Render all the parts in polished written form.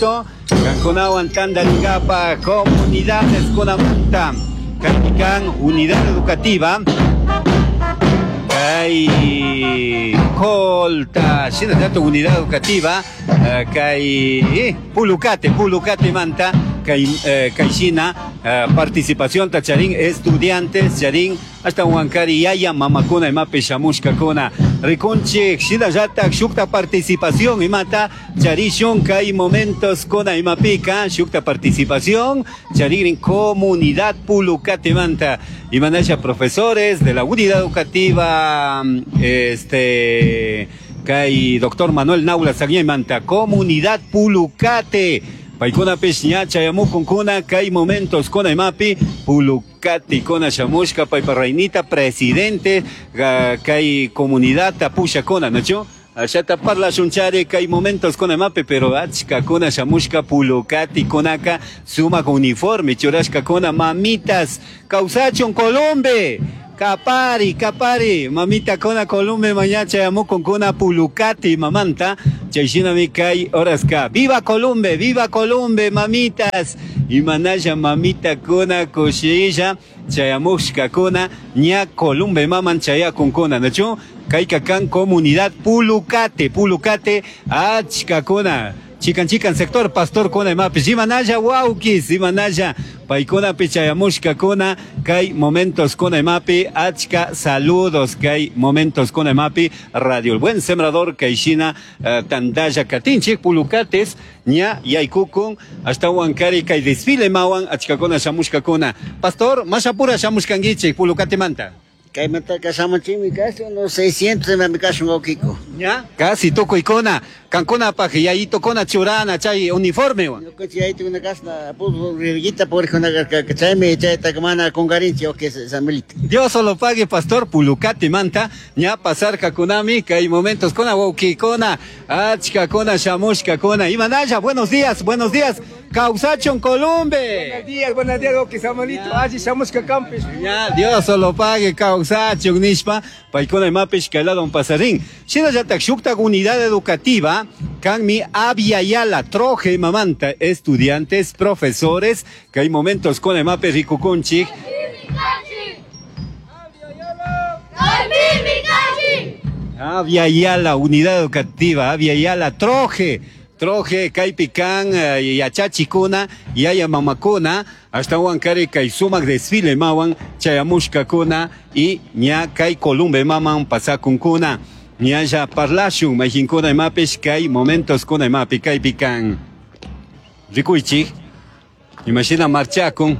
Kankunawan tantaringapaj comunidades kunamanta kaypi kan unidad educativa kay Colta shinallatak unidad educativa kay Pulucate Pulucatemanta kay kay shina participacionta charin estudiantes charin Ashtahuancari yaya mamakuna imapi shamushcacuna ricunchij, shinallataj shujta participación imata charishun cai momentos cuna imapica shujta participación charigrin comunidad Pulucatemanta imanasha profesores de la unidad educativa este cai doctor Manuel Naula Sagñaymanta comunidad Pulucate paicunapish ña chayamucuncuna cai momentos cuna imapi Pulucate Katikuna shamushka paypa raynita presidente kay comunidadta pushakuna, nachu? Ashata parlashunchari kay momentos kuna imapi, pero achkakuna shamushka pulukatikunaka sumak uniforme churashkakuna mamitas kawsachun Columbe. Kapari, kapari, mamitakuna Columbe maña chayamukunkuna pulukati mamanta, chay shinami kay horaska. Viva Columbe, viva Columbe, mamitas. Imanalla mamitakuna kushilla chayamushkakuna ña Columbe maman chayakunkuna, nachu? Kayka kan comunidad Pulucate, Pulucate achkakuna. Chikan chikan sector pastor kuna imapish imanalla wawkis imanalla paykunapi chayamushkakuna kay momentos kuna imapi achka saludos kay momentos kuna imapi Radio El Buen Sembrador kay shina tantalla katinchik Pulucates ña yaykukun ashtawan kari kay desfile mawan achkakuna shamushkakuna. Pastor, mashapura shamushkankichik Pulucatemanta. Kaymantaka shamunchikmi casi unos 600 imami kashun wawkiku. Ña, casi tukuykuna, kankunapaj yayitokuna churana chay uniformewan. Ñukanchik yayitukuna kashna puriguita purikuna karka, chaymi chaytaka mana kunkarinchik wawki Samuelito. Dios solo pague, pastor, Pulucatemanta ña pasarkakunami kay momentoskuna wawkikuna, achkakuna shamushkakuna. Imanalla, buenos días, buenos días. Kawsachun Columbe. Buenos días, buenos días, wawki Samuelito. Alli shamushka kanpish. Ña, Dios solo pague, kawsachun nishpa, paykuna imapish kay ladon pasarin. Shinallatak shuktak unidad educativa, kanmi Abya Troje mamanta, estudiantes, profesores, kay momentos con imapi rikukunchik. Abya Yala, unidad educativa, Abya Yala, Troje. Troje, kaypi kan, yachachikuna, yaya mamakuna, ashtawan kari kay sumak desfile mawan, chayamushkakuna, y ña kay Columbe maman pasakunkuna. Ñalla parlashun, mayjinkuna imapish, kay momentos kuna imapi, kaypi kan. Rikuychik, imashina marchakun.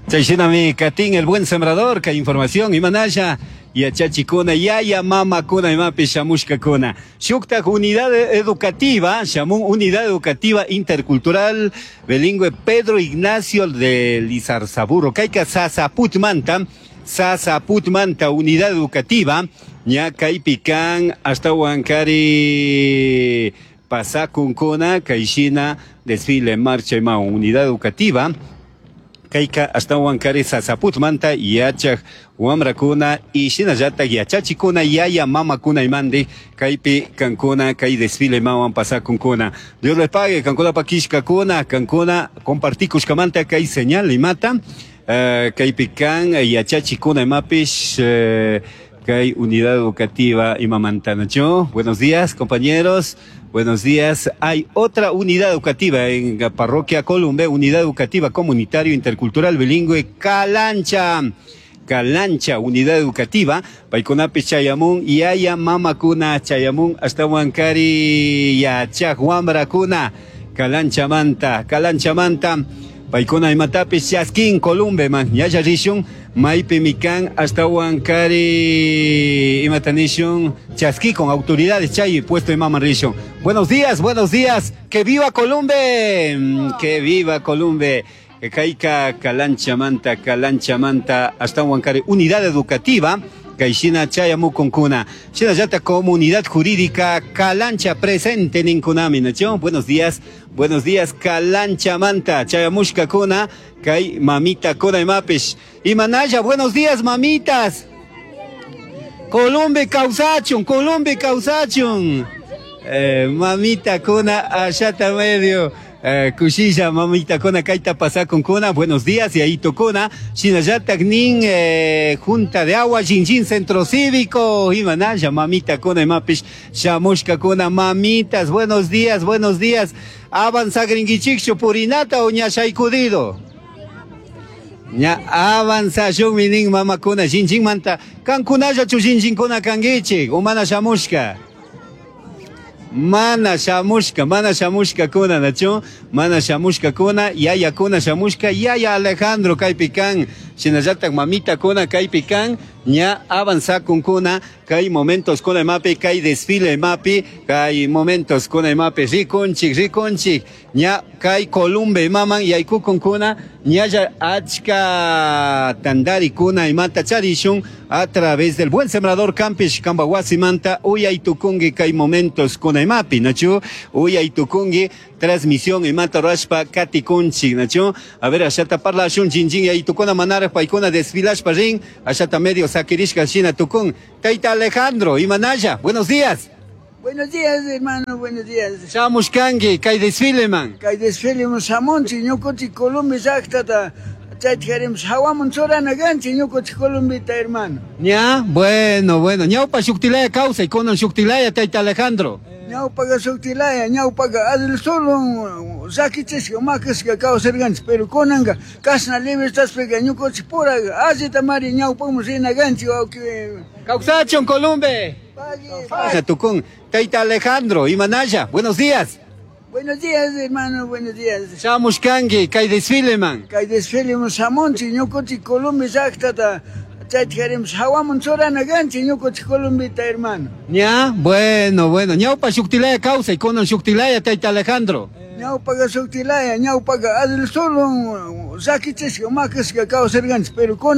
Chayshinami katin el buen sembrador, kay información, imanalla, yachachikuna, yaya mamakuna imapi shamushkakuna. Shuktak unidad educativa, shamun unidad educativa intercultural bilingüe Pedro Ignacio de Lizarzaburu. Kayka Sasaputmanta, Sasaputmanta unidad educativa, ña kaypi kan ashtawan kari pasakunkuna, kayshina desfile marcha ima unidad educativa. Kayka ashtawan kari Sasaputmanta yachaj wamrakuna y shinallatak yachachikuna yaya mamakuna imandi kaypi kankuna kay desfile mawan pasakunkuna. Dios les pague, kankuna pakishkakuna, kankuna compartikushkamanta kay señal imata, kaypi kan yachachikuna imapish, kay unidad educativa imamanta, ¿no? Buenos días, compañeros. Buenos días. Hay otra unidad educativa en la parroquia Columbe, unidad educativa comunitario intercultural bilingüe Calancha. Calancha, unidad educativa, paykunapi chayamun, yaya mamakuna chayamun, hasta Huancari yachaj wamrakuna, Calancha manta, Calancha manta, paykuna imatapis chaskin Columbe man, yaya rishun, maypi mikan, hasta Huancari imatanishun, chasqui con autoridades chay puesto de mama rishun. Buenos días, buenos días, que viva Columbe, que viva Columbe. Kayka Calancha manta, Calancha manta, hasta Huancari, unidad educativa, Kayshina chayamukunkuna. Shinallata comunidad jurídica Calancha presente ninkunami, ¿no? Buenos días, buenos días, Calancha manta, chayamushka kuna, kay mamita kuna imapish. Imanalla, buenos días, mamitas. Columbe kawsachun, Columbe kawsachun. Mamita kuna ashata medio kushilla mamita kuna kayta pasakunkuna. Buenos días yayitokuna. Shinallatak nin Junta de Agua Jinjin Centro Cívico. Imanalla mamita kuna imapish shamushkakuna mamitas. Buenos días, buenos días. Avanzagrinkichikchu purinata o ña shaykudido. Ña avanzashunmi nin mamakuna Jinjinmanta. Kankunallachu Jinjinkuna kankichik o mana shamushka. Mana shamushka, mana shamushka kuna, nachu? Mana shamushka kuna, yaya kuna shamushka, yaya Alejandro kaypi kan, shinallatak mamita kuna kaypi kan, ña avanzakunkuna, kay momentos kuna imapi, kay desfile imapi, kay momentos kuna imapi, rikunchik, rikunchik, ña kay Columbe imaman yaykukunkuna, ñalla achka tandarikuna imata charishun a través del Buen Sembrador Campish kamba wasimanta uyaytukunki kay momentos kuna imapi, nachu? Uyaytukunki transmisión imata rurashpa katikunchik, nachu? A ver, ashata parlashun, jinjin yaytukuna manaraj paykuna desfilashpa rin, ashata medio sakirishka shina tukun. Tayta Alejandro, imanalla, buenos días. Buenos días, hermano, buenos días. Shamushkanki, kay desfile man. Kay desfile shamunchik, ñukanchik Colombia llaqtata chayta queremos hawaman churana kanchik ñukanchik Colombita, hermano. Ña, bueno, bueno. Ñawpa shuktilaya kawsay, kunan shuktilaya, tayta Alejandro. Ñawpaqa shuktilaya, ñawpaqa adil solo llakichishka, makashka kawsarkanchik, pero kunanka kashna libertadpiqa ñukanchik pura allita mari ñawpakman rina kanchik, wawqi. Kawsachun, Columbe. Pagui, Tukun, Tayta Alejandro, imanalla, buenos días. Buenos días, hermano, buenos días. Shamushkanki, kay desfile man. Kay desfile shamunchik, ñukanchik Colombia llaqtata chayta queremos hawaman churana kanchik ñukanchik Colombita, hermano. Ña, bueno, bueno. Ñawpa shuktilaya kawsay, kunan shuktilaya, tayta Alejandro. Ñawpaqa shuktilaya, ñawpaqa adil solo llakichishka, makashka kawsarkanchik, pero kunan.